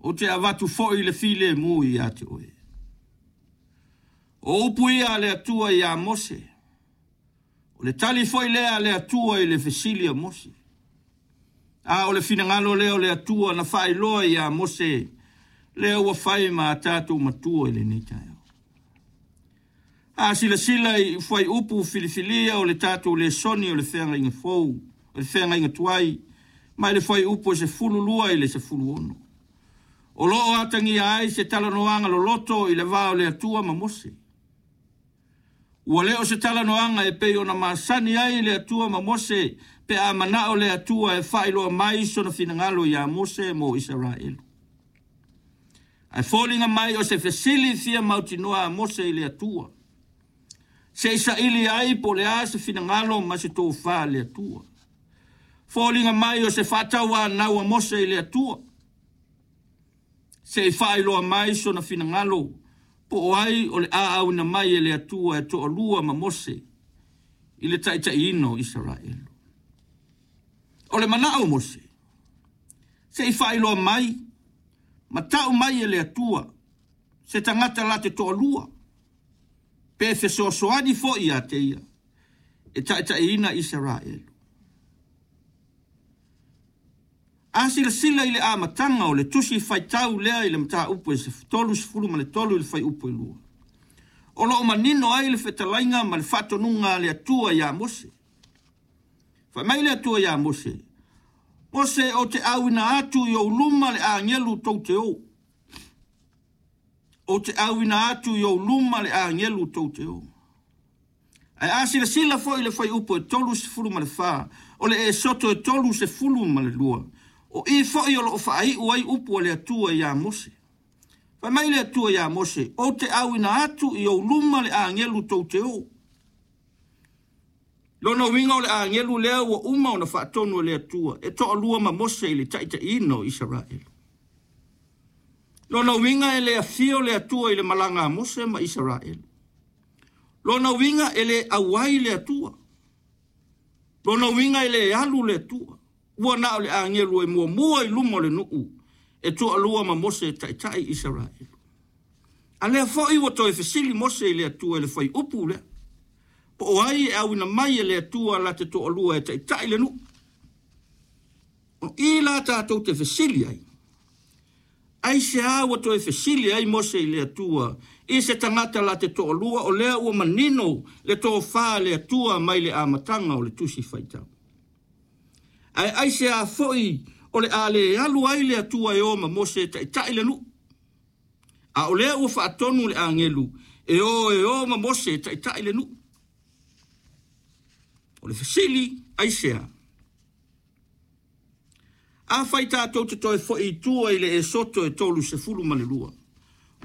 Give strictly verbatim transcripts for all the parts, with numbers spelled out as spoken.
Ou te avatu foi le filemu ia te oe. O upu ia a le Atua ia Mose. O le tali foi lea a le Atua i le fesili a Mose. A o le finagalo lea o le Atua na faailoa ia Mose, lea ua fai ma a tatou matua i lenei taeao. A silasila i fuaiupu filifilia o le tatou lesoni o le feagaiga fou, o le feagaiga tuai, mai le fuaiupu e sefululua i le sefuluono. O lo o atagia ai se talanoaga loloto i le va o le Atua ma Mose. Ua le o se talanoaga e pei ona masani ai le Atua ma Mose pe a manao le Atua e faailoa mai sona finagalo ia Mose mo Isaraelu. Ae foliga mai o se fesili fia mautinoa a Mose i le Atua, se i saili ai po o le a se finagalo ma se tofa a le Atua. Foliga mai o se faatauanau a Mose i le Atua, se i faailoa mai sona finagalo po o ai o le a auina mai e le Atua e toalua ma Mose i le taitaiina o Isaraelu. O le manao o Mose, se i faailoa mai ma tau mai e le Atua se tagata la te toalua, pe fesoasoani foi ia te ia e taitaiina Isaraelu. A silasila i le amataga o le tusi faitau lea i le mataupu e tolusefulu ma le tolu i le fuaiupu e lua. O lo o manino ai le fetalaiga ma le faatonuga a le Atua ia Mose. Fai mai le Atua ia Mose, Mose o te auina atu i ou luma le agelu tou te o. O te auina atu i ou luma le agelu tou te o. Ae a silasila foi i le fuaiupu e tolusefulu ma le fa, o le Esoto e tolusefulu ma le lua, o i foi o lo o faaiu ai upu a le Atua ia Mose. Fai mai le Atua ia Mose, ou te auina atu i ou luma le agelu tou te o. Lona uiga o le agelu lea ua uma ona faatonu e le Atua, e toalua ma Mose i le taitaiina o Isaraelu. Lona uiga e le afio le Atua i le malaga a Mose ma Isaraelu. Lona uiga e le auai le Atua. Lona uiga e le alu le Atua. Ua na o le agelu e muamua i luma o le nuu, e toalua ma Mose e taitai Isaraelu. A lea foi ua toe fesili Mose i le Atua i le fuaiupu lea. Po o ai e auina mai e le Atua la te toalua e taitai le nuu. O i la tatou te fesili ai. Ai se a ua toe fesili ai Mose i le Atua, i se tagata la te toalua o lea ua manino le tofa le Atua mai le amataga o le tusi faitau. Ae ai se a foi o le a le alu ai le Atua e o ma Mose e taitai le nuu. A o lea ua faatonu le agelu e o e o ma Mose e taitai le nuu. O le fesili ai se a. A fai tatou te toe foi i tua i le Esoto e tolusefulu ma le lua.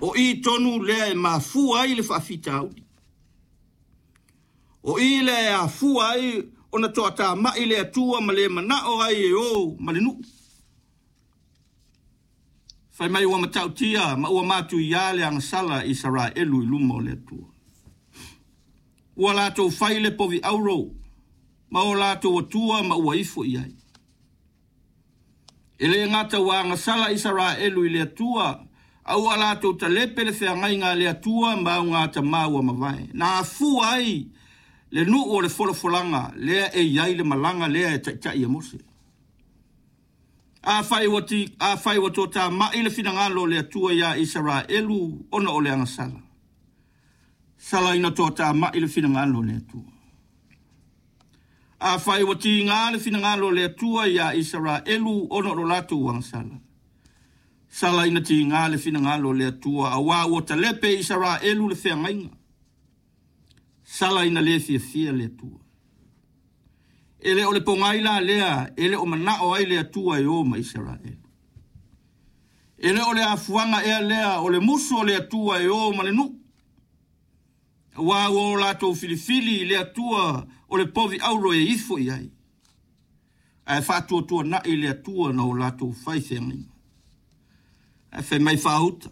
O i tonu lea e mafua ai le faafitauli. O i lea e afua ai ona toatamai le Atua ma le manao ai e o ma le nuu. Fai mai ua matautia ma ua matu ia le agasala Isaraelu i luma o le Atua. Ua latou fai le povi auro ma o latou atua ma ua ifo i ai. E le gata ua agasala Isaraelu i le Atua, a ua latou talepe le feagaiga a le Atua ma augatama ua mavae. Na afua ai le nuu o le folafolaga lea e i ai le malaga lea e taitai e Mose. A fai ua ti, a fai ua toatamai le finagalo o le Atua ia Isaraelu ona o le agasala. Sala ina toatamai le finagalo o le Atua. A fai ua tiga le finagalo o le Atua ia Isaraelu ona o lo latou agasala. Sala ina tiga le finagalo o le Atua, auā ua talepe Isaraelu le feagaiga. Sala ina le fiafia le Atua. E le o le pogai la lea, e le o manao ai le Atua e o ma Isaraelu. E le o le afuaga ea lea o le musu o le Atua e o ma le nuu. Auā ua o latou filifili i le Atua o le povi auro e ifo i ai. Ae faatuatuanai le Atua na o latou fai feagaiga. Ae fai mai faauta.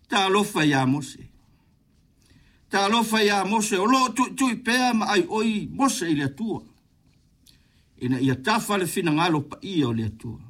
Talofa ia Mose. Talofa ia Mose, o lo o tuitui pea ma ai oi Mose i le Atua. Ina ia tafa le finagalo paia o le Atua.